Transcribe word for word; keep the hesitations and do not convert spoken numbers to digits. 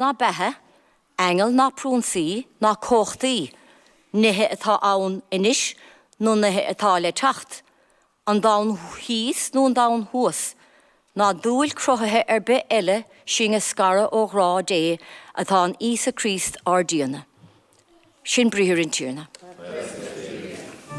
ná beatha, aingil ná prionsaí ná cumhachtaí, nithe atá ann anois nó nithe atá le teacht, an domhan thíos nó an domhan thuas, ná dúil cruthaithe ar bith eile sinn a scaradh ó ghrá Dé atá in Íosa Críost ár dTiarna. Sin briathar an Tiarna.